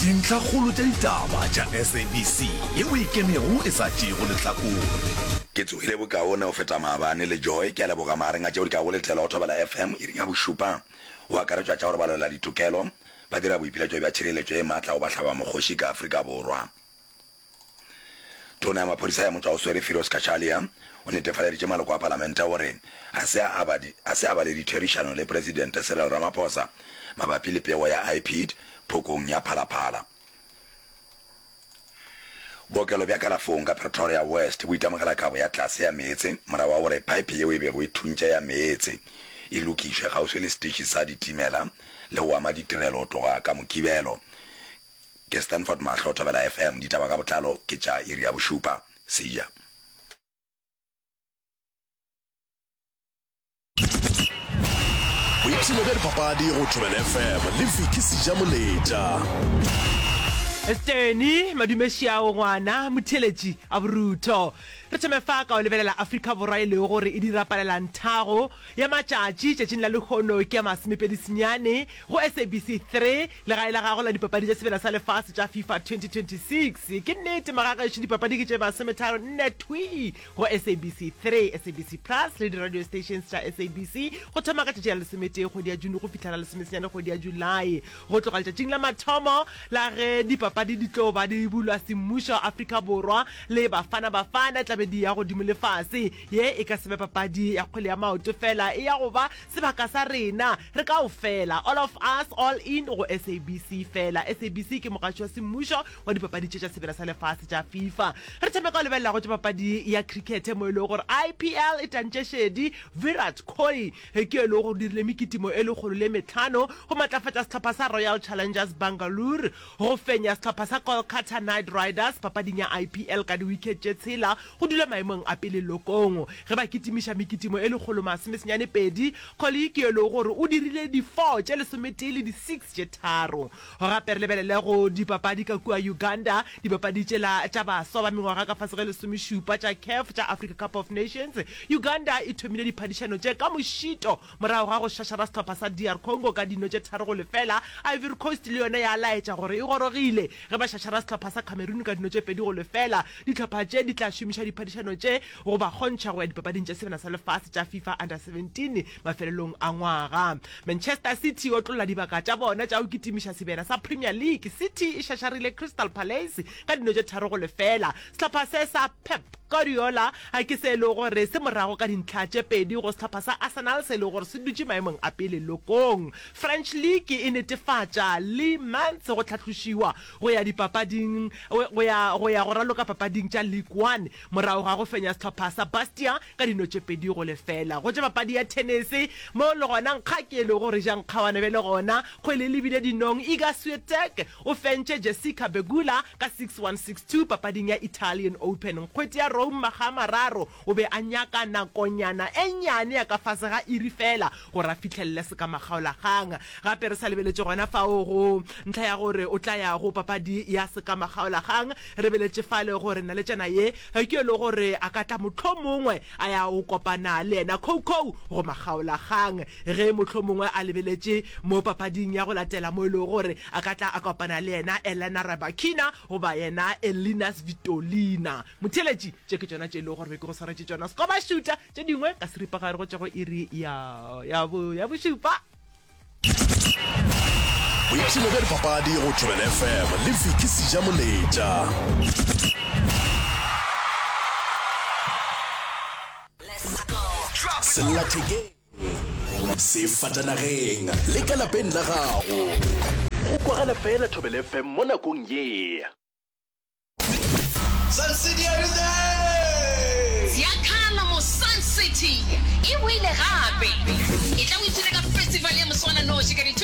Dintlhakgolo tša ditaba tša SABC yeo e ikemego e sa tšeego lehlakore. Ke tsogile bokaone go feta maabane le Joy. Ke a leboga magareng a tšeo di kago letela go Thobela FM iring ya bošupa go akaretšwa tša gore balwela ditokelo ba dira boipiletšo bja tšhireletšo ye maatla go bahlabamokgoši ka Afrika Borwa. Tona ya maphodisa ya motšwaoswere Firoz Cachalia o netefaleditše maloko a palamente gore ga se a ba ga se a ba le ditherišano le Presidente Cyril Ramaphosa mabapi le pego ya IPID phokong ya Phalaphala. Bookelo bja kalafong ka Pretoria West bo itemogela kabo ya tlase ya meetse morago ga gore phaephe yeo e bego e thuntše ya meetse e lokišwe kgauswi le setiši sa ditimela le go ama ditirelo go tloga ka Mokibelo. Ke Stanford Mahlo, Thobela FM. Ditaba ka botlalo ke tša iri ya bošupa. See ya. Boipshino bja dipapadi go Thobela FM le Vicky Sejamoletša. Steny Madumešiao ngwana motheeletši a borutho. Re thome fa ka go lebelela Afrika Borwa e lego gore e dira palelanthago ya matšatši tšatšing la lehono ke ya masomepedi senyane go SABC 3 Legae la gago la dipapadi tša Sebela sa Lefase tša FIFA 2026. Ke nnete magagešo, dipapadi ke tše masometharo nne thwii go SABC 3, SABC Plus le di-radio stations tša SABC go thoma ka tšatši la lesometee kgwedi ya June go fihla la lesomesenyane kgwedi ya Julae. Go tloga letšatšing la mathomo la ge dipapadi di tlo ba di bulwa semmušo Afrika Borwa le Bafana Bafana e tla be di ya godimo le fase. Ye e ka se be papadi ya kgwele ya maoto fela, e ya go ba sebaka sa rena re kaofela, all of us, all in go SABC fela. SABC ke mogaši wa semmušo wa dipapadi tše tša Sebela sa Lefase tša FIFA. Re thome ka go lebelela go tša papadi ya cricket mo e lego gore IPL e tantše šedi. Virat Kohli ke yo e lego gore o dirile mekitimo e lekgolo le metlhano go matlafatša sehlopha sa Royal Challengers Bangalore go fenya sehlopha sa Kolkata Knight Riders papading ya IPL ka di-wicket tše tshela go dula maemong a pele lokong ge ba kitimiša mekitimo e lekgolo masomesenyane pedi. Kohli ke yo e lego gore o dirile di-four tše lesometee le di-six tše tharo. Gape re lebelele go dipapadi ka kua Uganda, dipapadi tšela tša baswa ba mengwaga ka fase ge lesomešupa tša CAF tša Africa Cup of Nations. Uganda e thomile diphadišano tše ka mošito morago ga go šašara sehlopha sa DR Congo ka dino tše 3-0. Ivory Coast le yona ya laetša gore e gorogile ge ba šašara sehlopha sa Cameroon ka dino tše 2-0. Dihlopha tše di tla šomiša diphadišano tše go ba kgontšha go ya dipapading tša Sebjana sa Lefase tša FIFA Under 17 mafelelong a ngwaga. Manchester City e otlolla dibaka tša bona tša go kitimiša sebjana sa Premier League. City e šašarile Crystal Palace ka dino tše 3-0. Sehlopha se sa Pep Guardiola ke se e lego gore se morago ka dintlha tše pedi go sehlopha sa Arsenal se e lego gore se dutše maemong a pele lokong. French League e netefatša Le Mans go hlahlošiwa go ya dipapading go ya go ya go raloka papading tša Ligue One morago ga go fenya sehlopha sa Bastia ka dino tše 2-0. Go tša papadi ya thenese mo le gona nkga ke e lego gore ja nkgawana bjale gona kgwele e lebile dinong Iga Swiatek o fentše Jessica Pegula ka 6-1 6-2 papading ya Italian Open. Nkgwete ya Rome makga a mararo o be a nyaka nakonyana e nnyane ya ka fase ga iri feela gore a fihlelele sekamakgaolakgang. Gape re sa lebeletše gona fao go ntlha ya gore o tla ya go papadi ya sekamakgaolakgang, re beletše fale gore naletšana ye ke yo e lego gore a ka tla mohlomongwe a ya go kopana le yena Coco go makgaolakgang ge mohlomongwe a lebeletše mo papading ya go latela mo e lego gore a ka tla a kopana le yena Elena Rybakina goba yena Elina Svitolina. Motheeletši, tše ke tšona tše e lego gore be ke go swaretše tšona. Sekoba šuta tše dingwe ka seripagare go tšwa go iri ya, ya, bo, ya bošupa. Boipshino bja dipapadi go Thobela FM le Vicky Sejamoletša. Sellathekeng, sefatanageng le ka lapeng la gago. Go kwagala fela Thobela FM mo nakong ye. Sun City are you there? Ziyakhala mo Sun City e boile gape. Etla o ipshine ka festival ya moswananoši ka di.